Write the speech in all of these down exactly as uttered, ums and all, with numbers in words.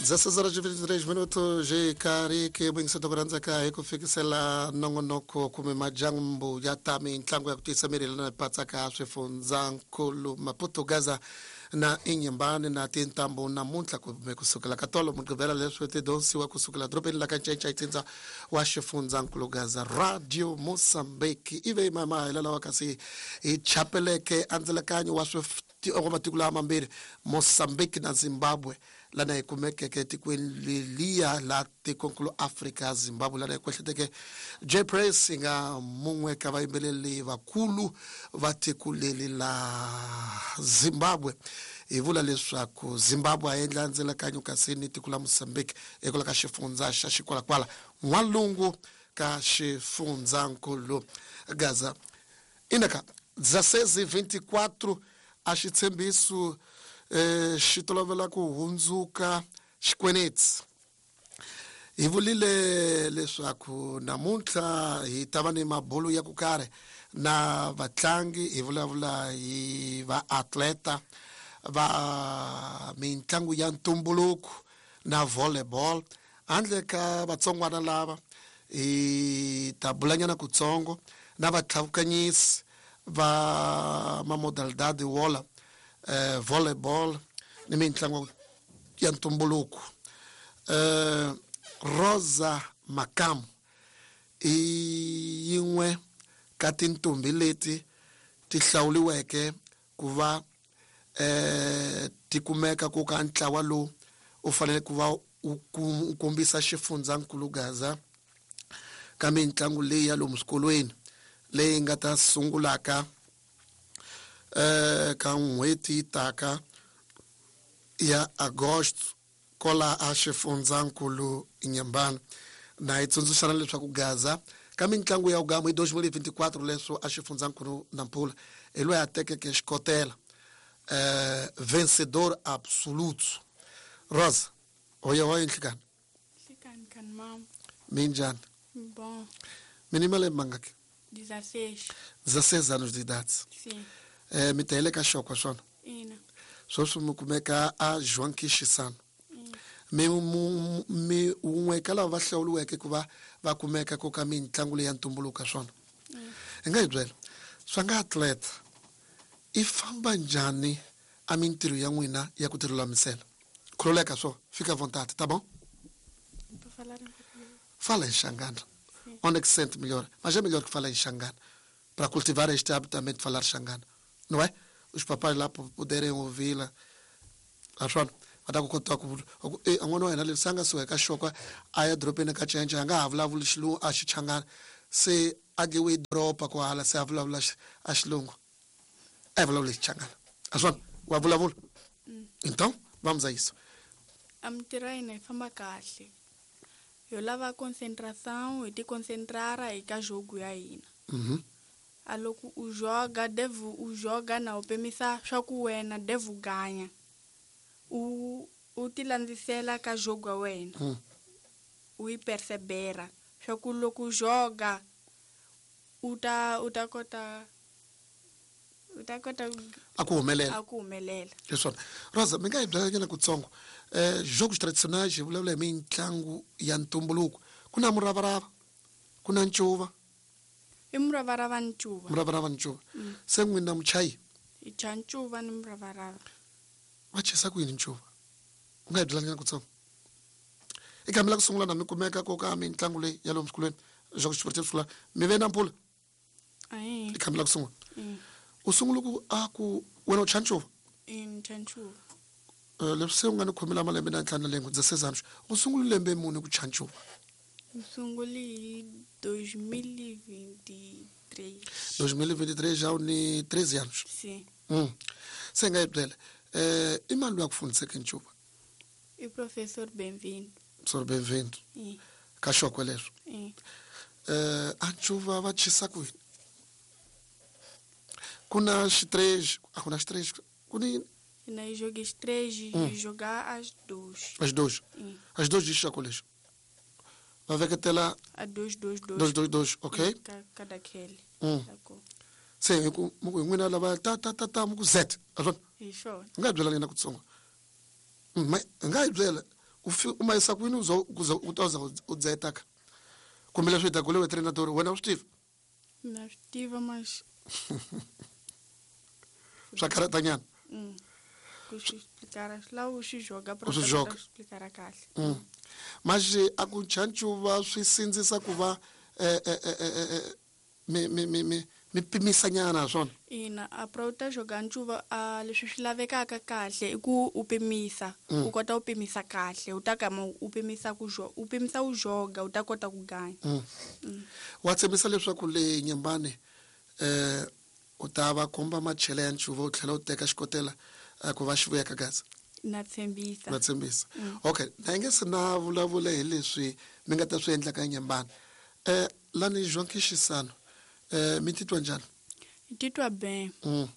dezesseis horas e vinte e três minutos jikariki mwingiseto ku rhandzeka hi ku fikisela nongonoko kumbe majambu ya ta mitlangu ya ku tiyisa miri lana patsaka swifundzankulu Maputo Gaza na Inhambane na tintambu namuntlha kumbe kusukela ka tolo Mugqivela leswi ti donsiwa kusukela dorobeni la ka Ncencetindza wa xifundzankulu Gaza Radio Mozambique ive mama lawa kasi hi chapeleke andzelekanyo wa wa matiko lama mambirhi Mozambique na Zimbabwe lana hi kumekeke etikweni leliya la tikonkulu Afrika Zimbabwe lana hi kwehleteke J Press yi nga mun'we ka vayimbeleri vakulu va tiko leri la Zimbabwe hi vula leswaku Zimbabwe a endla ndzelekanyo kasi ni tiko la Mozambique ekwala ka xifundza xa Xikwalakwala n'walungu ka xifundzankulu Gaza inaka dezesseis e vinte e quatro a xitshembiso eh xi tolovela ku hundzuka xikweneti hi vulile leswaku namuntlha hi ta va ni mabulu ya ku karhi na vatlangi hi vulavula hi vaatleta va mitlangu ya ntumbuluko na volleyball handle ka vatsongwana lava hi ta bulanyana kutsongo na vatlhavukanyisi va mamodalidade wola eh, volleyball ni mitlangu ya ntumbuluko eh, Rosa Makamu i yin'we ka tintombi leti ti hlawuriweke ku va eh, ti kumeka ku ka ntlawa lowu u fanele ku va u kombisa xifundzankulu Gaza ka mitlangu leyi ya lomu swikolweni leyi nga ta sungulaka eh ka n'hweti yi taka ya Agosto kola a xifundzankulu Inhambane na hi tsundzuxana leswaku Gaza ka mitlangu ya ugamu hi dois mil e vinte e quatro leswo a xifundzankulu Nampula hi loyi a tekeke xikotela eh vencedor absoluto Rosa hoya hoya nhlikani Nhlikani kan mam. Minjhani? Bom. Mini malembe mangaki? dezesseis. dezesseis anos de idade. Sim. Eh, mi ta ka xokwa swona? Ina. Sweswi mi kumeka a João Quixisano. Mi mi un'we ka lava va hlawuriweke ku va va kumeka ku ka mitlangu leyi ya ntumbuluko swona. Hi nga hi byela swa nga atleta i famba njhani a mintirho ya n'wina ya ku tilulamisela? Khululeka swo fika vontade, tá bom? Fala em Xangana. Onde é que se sente melhor? Mas é melhor que fala em Xangana, para cultivar este hábito também de falar Xangana, não é? Os papais lá poderem ouvi-la. Achando, va ta ku kota ku e n'wana wa hina leswi a nga suka eka xokwa a ya dorobeni ka cinca a nga ha vulavuli xilungu a xichangana se a dliwe doroba ku hala se a vulavula a xilungu a vulavula xichangana a swona wa vulavula. Então vamos a isso. A mintirho ya hina yi famba kahle yo lava concentração hi ti concentrara eka jogo ya hina. Mhm. A loko u joga deve u joga na u pimisa swa ku wena deve u ganya u u ti landzisela ka jogo wa wena. Mm. U yi persevera swa ku loko u joga u ta u ta kota u ta kota a ku humelela a ku humelela. Leswona Rosa mi nga hi byela nyana kutsongo eh jogos tradicionais hi vulavula hi mitlangu ya ntumbuluko ku na muravarava ku na ncuva i muravarava ni ncuva muravarava ni ncuva se n'wina muchayi hi cha ncuva ni muravarava va chesa ku yini ncuva u nga hi byela nyana kutsongo i kambe la ku sungula na mi kumeka ko ka mitlangu leyi ya lomu swikolweni jogos sportivos scolar mi ve na mpfula ayi i kambe la ku sungula Mm. u sungula ku a ku wena u cha ncuva i ni cha ncuva leswi se u nga ni khomela malembe na ntlhanu na lembe dezesseis anos u sungule lembe muni ku cha ncuva ni sungule hi dois mil e vinte e três dois mil e vinte e três já u ni treze anos sim mm. Se nga hi byela eh i mani loyi a ku fundiseke ncuva i professor Bem-vindo professor Bem-vindo i ka xokwe leswo i eh a ncuva va chisa kwini ku na xitrês a ku na xitrês ku ni na hi joga três Hum. e jogar as duas as dois i as dois de xokwe leswo va veketela a dois dois dois dois dois dois ok ka kada khele Mm. D'accord. Se hi ku mi ku hi n'wina lava ta ta ta ta mi ku z a swona hi swona u nga hi byela nyana kutsongo ma hi nga hi byela U ma yisa kwini u za u ta za u dzeta ka kumbe leswi hi ta kulewe treinador wena u swi tiva? Na swi tiva mas swa karatanyana. Mm. Ku swi explicar swi lava u swi joga U swi joga. Explicar kahle. Mm. Mas a ku chanchuva swi sindzisa ku va eh eh eh mi mi mi mi mi pimisanyana swona. Ina, a pra u ta joga ncuva a leswi swi lavekaka kahle i ku u pimisa, u kota u pimisa kahle, u ta kama u pimisa ku jo, u pimisa u joga u ta kota ku ganya. Mm. Wa tshembisa leswaku le Nyembane eh u ta va komba machele ya ncuva u tlhela u teka xikotela ku va xi vuya ka Gaza. Na tshembisa. Na tshembisa. Okay, na nge se na vulavula hi leswi mi nga ta swi endla ka Nyembane. Eh lani João Xisano eh mi titwa njhani? Hi titwa ben. Mm.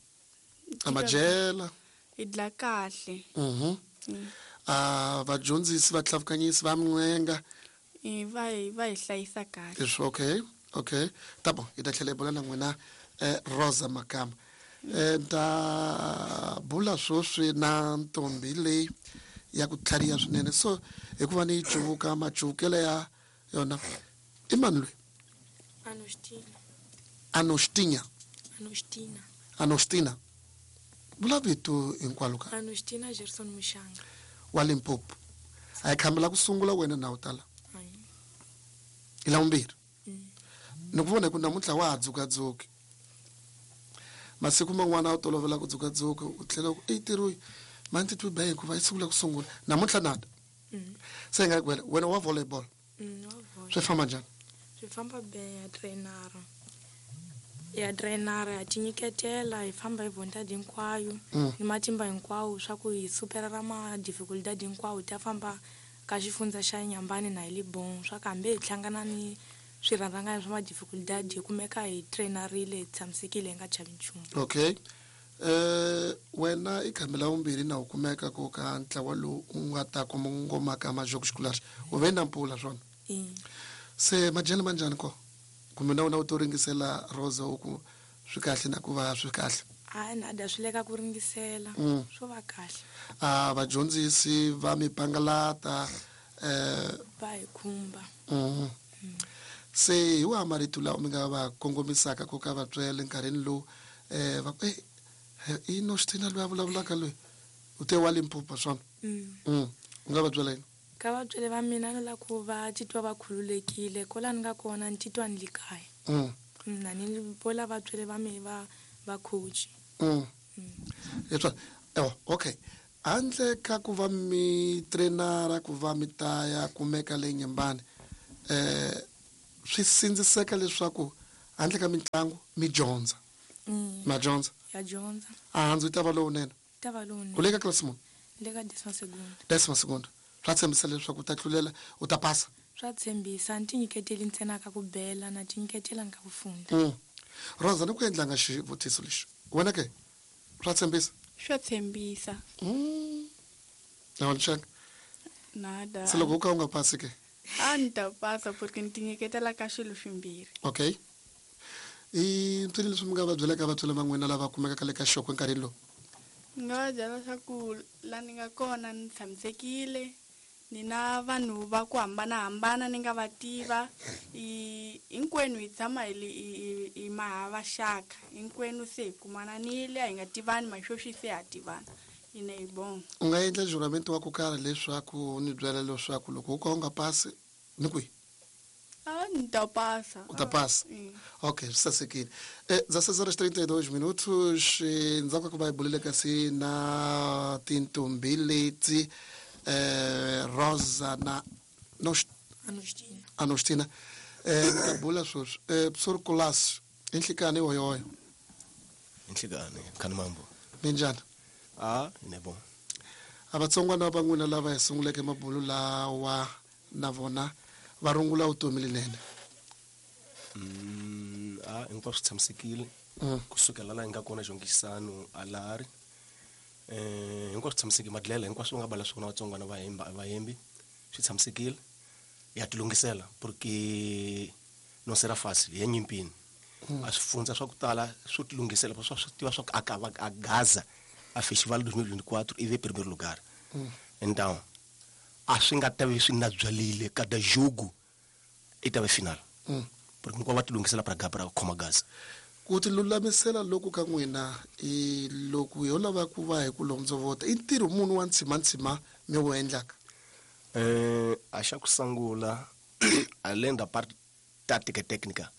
Amajela. Hi dla kahle. Mhm. Ah vadyondzisi va tlhavukanyisi va minwenga. I va hi va hi hlayisa kahle. Is okay. Okay. Tá bom, hi ta tlhela hi bula na n'wina eh Rosa Makamba. Eh ta bula sweswi na ntombi leyi ya ku tlhariha swinene. So hikuva ni yi cuvuka macuvukelo ya yona i mani loyi? Anostina. Anostina. Anostina. Anostina. Vula vito hinkwalo ka. Anostina Gerson Mushanga. Wa Limpopo. A hi khambela ku sungula wena na u tala. I la vumbirhi. Ni ku vona hi ku namuntlha wa ha dzukadzuki. Masiku man'wana a wu tolovela ku dzukadzuka u tlhela u ku i tirhi mani titwi ba hikuva yi sungula ku sungula namuntlha nada. Se hi nga ku wena wena wa volleyball. Swi famba njhani? Swi famba be ya trainara. Ya trainara ya tinyiketela hi famba hi vontadi hinkwayo ni matimba hinkwawo swa ku hi superera ma dificultad hinkwawo ta famba ka xifundza xa Nyambane na hi Libon swa ku hambi hi hlangana ni swirharanganya swa ma dificultad hi kumeka hi trainarile hi tshamisekile hi nga chavi nchumu. Okay. Eh wena i khambela vumbirhi na u kumeka ku ka ntlawa lowu u nga ta kongoma ka majoko xikulari u ve na mpfula swona. Se majele manjhani ko kumbe na wena u to ringisela Rosa u ku swi kahle na ku va swi kahle? Hayi nada swi le ka ku ringisela swo va kahle. A vadyondzisi va mi pangalata eh va hi khumba. Mm. Se hi wahi marito lawa mi nga va kongomisaka ku ka vatswele nkarhini lowu eh va ku eh i Nostina loyi a vulavulaka loyi u te wa Limpopo swona? Mm. U nga va byela yini? Ka vatswele va mina ni la ku va titwa va khululekile kwala ni nga kona ni titwa ni li kaya. Mm. Na ni vola vatswele va mina va va coach. Mm. Leswa oh okay. Handle ka ku va mi trainara ku va mi ta ya kumeka le Nyembane eh swi sindziseka leswaku handle ka mitlangu mi dyondza. Ma dyondza? Ya dyondza. A handzu yi ta va lowunene. Ta va lowunene. U le ka class muni? Le ka décima segunda. Décima segunda. Swa tshembisa leswaku u ta tlulela u ta pasa? Swa tshembisa, ni tinyiketeli ntsena ka ku bela na tinyiketela ka ku funda. Mm. Rosa ni ku endlanga xivutiso lexi. Wena ke? Swa tshembisa? Swa tshembisa. Mm. Na wena xana? Nada. Se loko u ka u nga pasi ke? A ni ta pasa porque ni tinyiketela ka swilo swimbirhi. Okay. I mpfini leswi mi nga va byelaka vatswari va n'wina lava kumekaka le ka xoko enkarhini lowu? Ni nga va byela leswaku la ni nga kona ni tshamisekile ni na vanhu va ku hambanahambana ni nga va tiva i hinkwenu hi tshama hi hi hi mahavaxaka hinkwenu se hi kumananile a hi nga tivani masweswi se ha tivana ine hi bon. U nga endla juramento wa ku karhi leswaku ni byela leswaku loko u ka u nga pasi ni kwihi? Ah, ni ta pasa. U ta pasa? Ok, swi sasekile. Eh, dezesseis horas trinta e dois minutos, ndzhaku ka ku va hi bulile kasi na tintombi leti eh Rosa na Nost Anostina. Anostina. Eh ni ta bula sweswi. Eh Professor Kulas, i nhlikani hoyoyo? Nhlikani, khani mambo. Minjhani? Ah, ne bon. A vatsongwana va n'wina lava hi sunguleke mabulu lawa na vona va rungula vutomi lenene. Mm, ah, hinkwaswo swi tshamisekile. Kusukela laha hi nga kona Xongisano a lahari. Eh, hinkwaswo swi tshamisekile madlela hinkwaswo nga bala swona vatsongwana va hemba va hembi swi tshamisekile. Ya tilungisela porque no será fácil ya nyimpini. A swi fundza swa ku tala swo tilungisela swa swi tiva swa ku aka a Gaza a festival dois mil e vinte e quatro e vem primeiro lugar. Então, a swi nga ta vi swi na byalile kada jogo i ta ve final. Mm. Porque hinkwavo va ti lunghisela para para khoma gaza. Ku ti lulamisela loku ka n'wina i loko yo lava ku va hi ku londzovota i ntirho munhu wa ntshimantsima mi wu endlaka? Eh, a xa ku sungula além da parte tática e técnica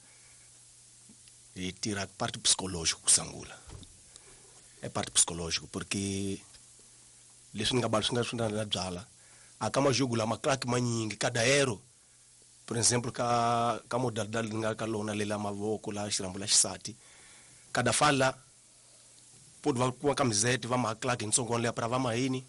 hi tirha parte psicológico ku sungula. É parte psicológico porque leswi ni nga bala swi nga swi nga na byala a ka majogo lama crack manyingi kada ero por exemplo ka ka modalidade nga ka lona lela mavoko la xirambo la xisati kada fala pode va ku camiseta va ma claque ntsongo le para va mahini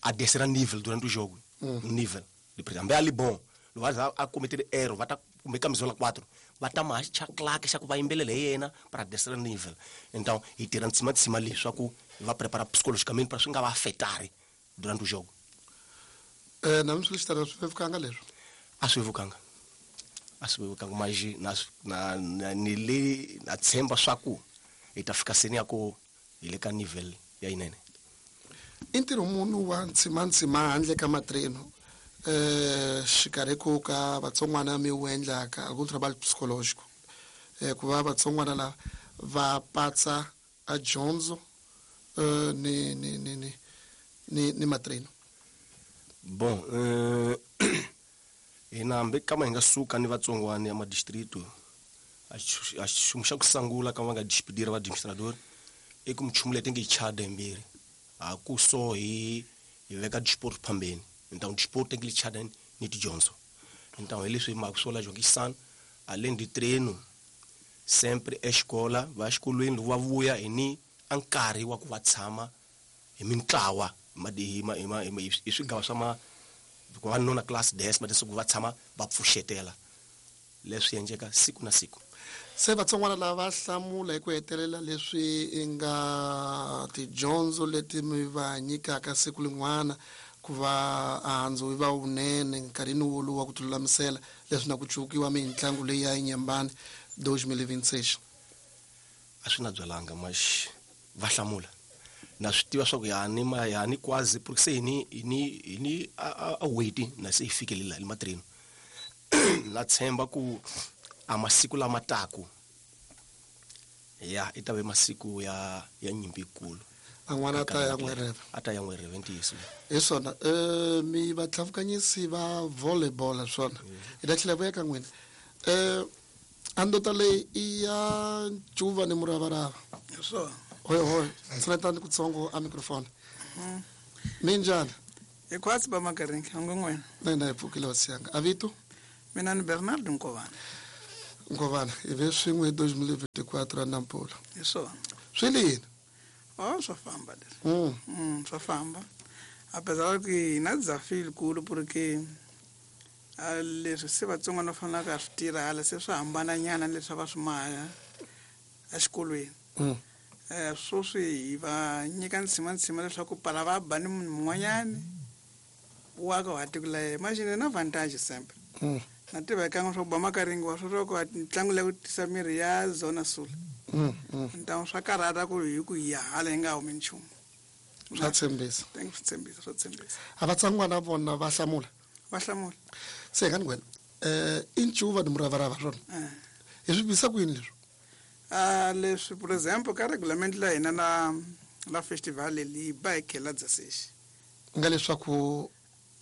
a descer a nível durante o jogo. Mm. Nível de hambe ali bom lo va a cometer erro va ta kumbe camisola quatro va ta ma cha claque xa ku va yimbelele yena para descer a nível. Então hi tirha ntsima ntsima leswaku va prepara psicologicamente para swi nga va afetari durante o jogo. Eh na swi xitara swi vevukanga leswo? A swi vevukanga. A swi vevukanga mas na na, na ni le na tshemba swa ku hi ta fika seni ya ku hi le ka nível ya yinene. I ntirho munhu wa ntsimantsima handle ka matreno eh xikarhi ku ka vatsongwana mi wu endlaka algum trabalho psicológico eh ku va vatsongwana lava va patsa a dyondzo eh ni ni ni ni ni ni matreno? Bon, eh hina hambi kama hi nga suka ni vatsongwana ya madistrito a xi xa ku sungula ka va nga despedira va administrador i ku minchumu leyi ti nge yi chada yimbirhi a ku so hi hi veka disport phambeni. Então disport tem que lhe chada ni tidyondzo. Então hi leswi mhaka swo la jongisana além de treino sempre escola va xikolweni loko va vuya hi ni a nkarhi wa ku va tshama hi mintlawa hi ma hi ma hi swigava swa ma ku va nona class dez ma leswaku va tshama va pfuxetela leswi endleka siku na siku. Se vatsongwana lava va hlamula hi ku hetelela leswi i nga tidyondzo leti mi va nyikaka siku lin'wana ku va handzu yi va wunene nkarhini wolowu wa ku tilulamisela leswi na ku cukiwa mitlangu leyi ya Inhambane dois mil e vinte e seis? A swi na byalanga mas va hlamula na swi tiva swa ku ya ni ma ya ni quase porque se ni ni ni a a wait na se hi fikelela le matreno. Na tshemba ku a masiku lama taku ya i ta ve masiku ya ya nyimpi yikulu. An'wana ta ya n'wereve a ta ya n'wereve ntiyiso hi swona. Eh mi vatlhavukanyisi va volleyball swona hi ta tlhela vuya ka n'wina. Eh andota leyi i ya ncuva ni muravarava hi swona. Hoy hoy tshinetani kutsongo a microphone. Minjhani? Hi khwatsi ba Makaringi ngo n'wina? Na hina hi pfukile hosi yanga. A vito? Mina ni Bernard Nkovana. Nkovana hi ve swin'we hi dois mil e vinte e quatro a Nampula. Hi swona. Swi le yini? Oh, swa famba leswi. Mm. Mm, swa famba. Apesar ku hi na desafio yikulu porque a leswi se vatsongwana va fanelaka a swi tirha hala se swi hambananyana na leswi a va swi maha exikolweni. Mm. Eh sweswi hi va nyika ntshimantsima leswaku pala va ba ni munhu mun'wanyani wa ka wa tiko la yena. Imagine na vantage sempre. Mm. Na tiva eka swa ku ba Makaringi wa swo ku ntlangu leyi ku tisa mirhi ya Zona Sul. Mm, mm. Então swa karhata ku hi ku hi hala hi nga humi nchumu. Swa tshembisa. Thank you, tshembisa, swa tshembisa. A vatsongwana vona va hlamula? Va hlamula. Se ka ni wena eh i ncuva ni muravarava swona? Eh. Hi swi bisa ku yini leswi? Ah leswi por exemplo ka regulamento la hina la la festival leyi ba hi khela dzaseji. Nga leswaku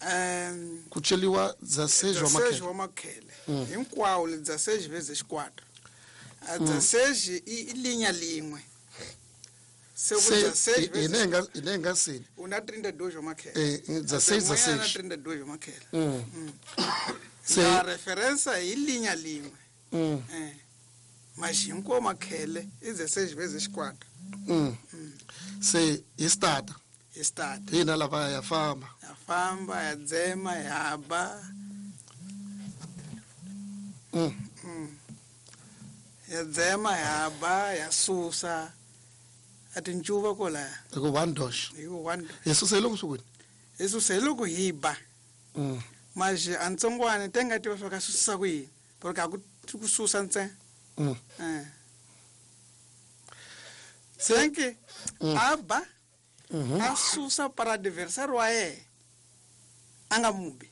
Um, ku celiwa dzaseji wa makhele. Dzaseji wa makhele. Mm. Hinkwawo le dzaseji veze xikwata. A dzaseji i i linya lin'we. Se ku Se dzaseji hi veze ne nga hi ne nga seni. U na trinta e dois wa makhele. Eh dzaseji Na dzaseji. trinta e dois wa makhele. Mm. Mm. Se La referensa hi linya lin'we. Mm. Eh. Mas hinkwawo makhele i dzaseji veze xikwata. Mm. Se hi start. Hi start. Hina lava ya famba. Ya famba ya dzema ya ba. Mm. Mm. Ya dzema ya ba ya susa. A tincuva kola. Hi ku one dosh. Hi ku one. Hi susa hi loko swi kwini? Hi susa hi loko hi ba. Mm. Mas a ntsongwana te nga tiva swa ka susa ku yini. Porque a ku ku susa ntsena. Mm. Eh. Senke Mm. a ba. Mm-hmm. A susa para adversário wa yena. A nga mubi.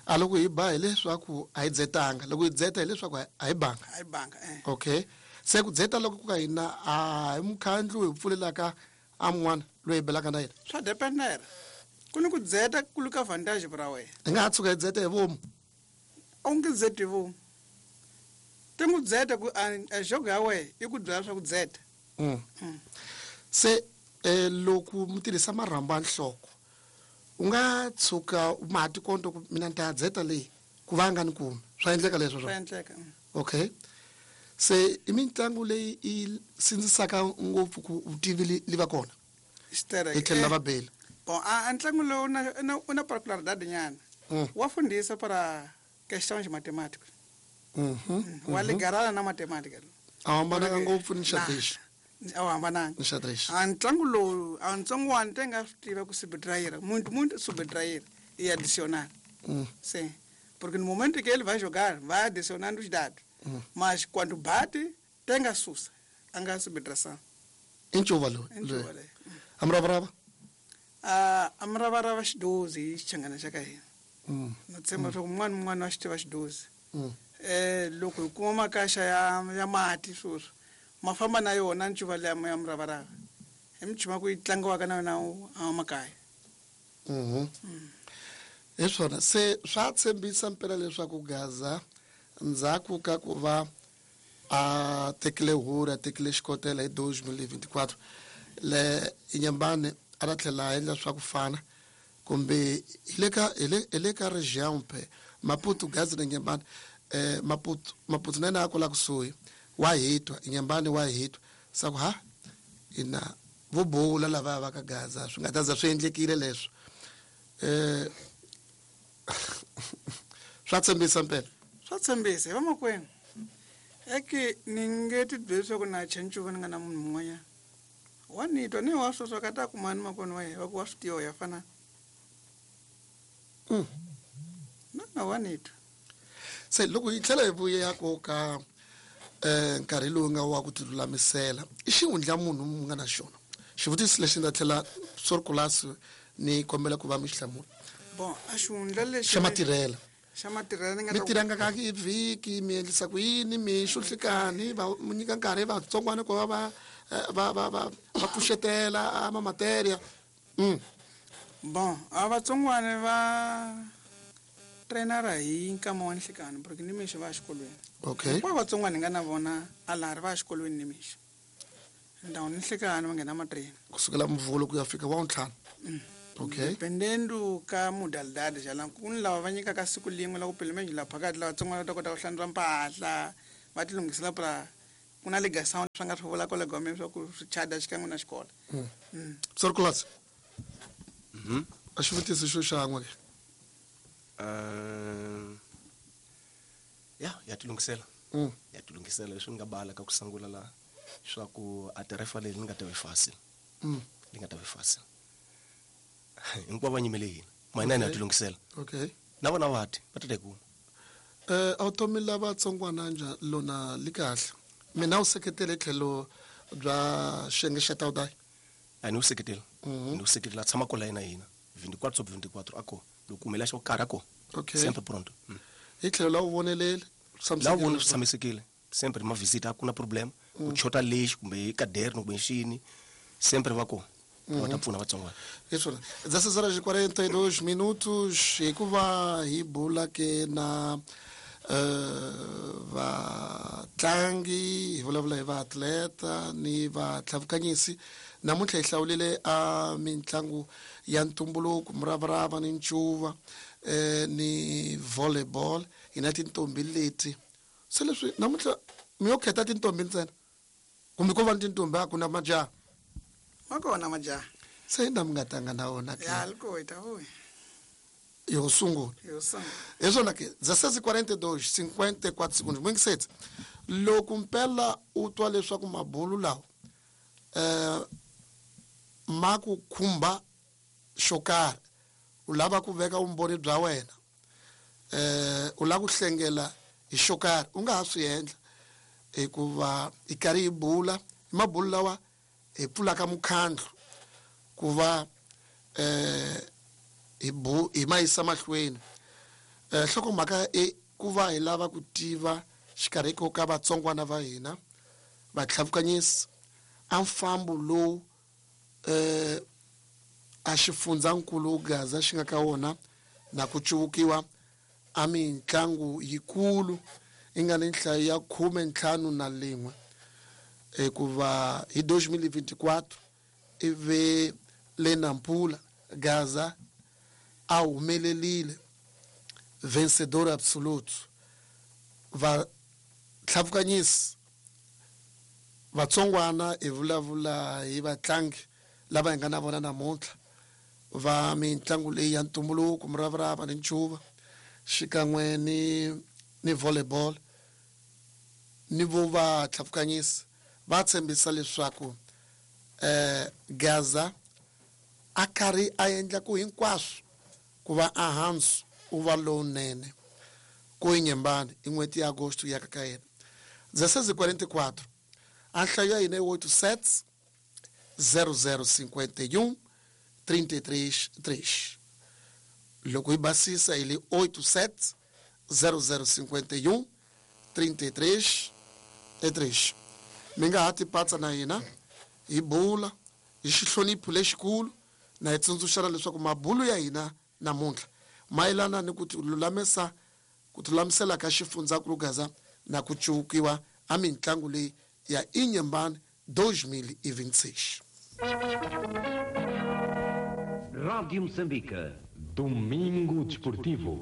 A loko hi ba hileswaku a hi dzetanga, loko hi dzeta hileswaku a hi banga. A hi banga eh. Okay. Se ku dzeta loko ku ka hina a hi mukhandlu hi pfulelaka a mun'wana loyi hi belaka na yena. Swa dependera. Ku ni ku dzeta ku luka vantage ra wena. Hi nga ha tshuka hi dzeta hi vomu. A wu nge dzeti hi vomu. Ti n'wi dzeta ku a jogo ya wena i ku byela swa ku dzeta. Mm. Se eh loko mi tirhisa marhambu ya nhloko u nga tshuka ma ti konto ku mina ni ta dzeta leyi ku va nga ni kumi. Swa endleka leswo swa endleka. Okay. Se i mitlangu leyi i sindzisaka ngopfu ku vutivi li va kona. Xitereke. Hi tlhela va bela. Bon, a ntlangu lowu na u na particularidade nyana. Wa fundisa para questões matemáticas. Mhm. Wa ligarana na matemática. A hambananga ngopfu ni xadrez. A wu hambananga. Ni xadrez. A ntlangu lowu a ntsongwana te nga swi tiva ku subtrair, muito muito subtrair e adicionar. Mm. Sim. Porque no momento que ele vai jogar, vai adicionando os dados. Mm. Mas quando bate, tem a sussa, a subtração. Enxuva lowu. Enxuva leyi. A muravarava? A a muravarava xidozi hi xichangana xa ka hina. Mm. Na tshemba leswaku un'wana na un'wana wa xi tiva xidozi. Mm. Eh loko hi kuma makaxa ya ya mati sweswi ma famba na yona ncuva liya ya muravarava. Hi michuma ku yi tlangiwaka na yona a makaya. Mhm. Hi swona se swa tshembisa mpela leswaku Gaza ndzhaku ka ku va a tekile huru a tekile xikotela hi dois mil e vinte e quatro le Inhambane a ta tlhela a endla swa ku fana kumbe hi le ka hi le hi le ka region pe Maputo Gaza na Inhambane eh Maputo Maputo na yena a kwala kusuhi wa hitwa Inhambane wa hitwa sa ku ha ina vo bula lava va ka Gaza swi nga ta za swi endlekile leswo eh swa tshembisa mpela. Swa tshembisa hi vamakwenu. Eke ni nge ti byeli leswaku na chancuva ni nga na munhu mun'wanyana. Wa ni twa ni wa sweswo ka ta kuma ni makwenu wa yena va ku wa swi tiva ya fana. Mm. Na na wa ni twa. Se loko hi tlhela hi vuya ko ka eh nkarhi lowu nga wa ku tilulamisela i xihundla munhu mu nga na xona. Xivutiso lexi ndza tlhela sorkulasi ni kombela ku va mi xi hlamula. Bon, a xihundla lexi xa matirhela. Xa matirhela ni nga mi tirhanga ka hi vhiki mi endlisa ku yini mi xuhlikani va mi nyika nkarhi vatsongwana ku va va va va va va pfuxetela a materia. Mm. Bon, a vatsongwana va trainara hi nkama wa nhlikani porque ni mixo va xikolweni. Okay. Hinkwavo vatsongwana hi nga na vona a laha ri va xikolweni ni mixo. Ndhawu ni nhlikani va nghena matrain. Kusukela mvhulo ku ya fika wa ntlhanu. Mm. Okay. Dependendo ka modalidade jala ku ni lava va nyikaka siku lin'we la ku pelo menos la phakathi lava vatsongwana va ta kota ku hlantswa mpahla va ti lunghisela pra ku na ligação swa nga swi vula kwale gomeni swa ku swi chada xikan'we na xikolo. Mm. Mm. Sorkulasi. Mhm. A xivutiso xo xan'we ke. Eh ya ya tilunghisela. Mm. Ya tilunghisela leswi nga bala ka ku sungula la swa ku a tarefa leyi ni nga ta vi fácil. Mm. Li nga ta vi fácil. Hinkwavo va nyimele hina. Mina ni ya tilunghisela. Okay. Na vona va ti va ta ta kuma. Eh automi lava tsongwana nja lona li kahle. Mina u seketele tlhelo bya xiyenge xa tawudai. A ni u seketela. Mhm. Ni u seketela tshama kwala yena hina. vinte e quatro sobre vinte e quatro ako. Loko kumela xo karhi ako. Okay. Sempre pronto. Mm. Hi tlhelo la u vonelele. La u vona swi tshamisekile. Sempre ma visita a ku na problem. Ku chota lexi kumbe hi caderno kumbe xini. Sempre va kona. Va ta pfuna vatsongwana. Hi swona. dezesseis horas e quarenta e dois minutos hikuva hi bula ke na eh vatlangi hi vulavula hi vaatleta ni vatlhavukanyisi namuntlha hi hlawulile a mitlangu ya ntumbuluko muravarava ni ncuva eh ni volleyball hi na tintombi leti se leswi namuntlha mi yo khetha tintombi ntsena kumbe ko va ni tintombi a ku na majaha. Ma kona majaha. Se na mi nga tanga na wona ke. Ya loko hi ta vuya. Yo sungula. Yo sungula. Hi swona ke dezesseis e quarenta e dois cinquenta e quatro segundos. Mwingiseti loko mpela u twa leswaku mabulu lawa eh ma ku khumba xo karhi u lava ku veka vumbhoni bya wena eh u lava ku hlengela hi xo karhi u nga ha swi endla hikuva hi karhi hi bula hi mabulu lawa hi pfulaka mukhandlu ku va eh hi bu hi ma yisa mahlweni. Eh nhlokomhaka i ku va hi lava ku tiva xikarhi ko ka vatsongwana va hina vatlhavukanyisi a mfambo lowu eh a xifundzankulu Gaza xi nga ka wona na ku cuvukiwa a mintlangu yikulu yi nga ni nhlayo ya khume ntlhanu na lin'we hikuva hi dois mil e vinte e quatro ivi le Nampula Gaza a humelerile vencedor absoluto. Va tlhavukanyisi vatsongwana hi vulavula hi vatlangi lava hi nga na vona namuntlha va mitlangu leyi ya ntumbuluko, muravarava ni ncuva xikan'we ni ni volleyball ni vo va tlhavukanyisi va tshembisa leswaku eh Gaza a karhi a endla ku hinkwaswo ku va ehansi u va lowunene ku Inhambane i n'hweti ya Agosto ya ka yena. dezesseis e quarenta e quatro a nhlayo ya hina i oito sete zero zero cinquenta e um trinta e três três. Loko hi basisa hi le oito sete zero zero cinquenta e um trinta e três três. Mi nga ha tipatsa na hina hi bula hi xihlonipho lexikulu na hi tsundzuxana leswaku mabulu ya hina namuntlha mayelana ni ku tilulamisa ku tilulamisela ka xifundzankulu Gaza na ku cuvukiwa a mitlangu leyi ya Inhambane dois mil e vinte e seis. Rádio Moçambique. Domingo Desportivo.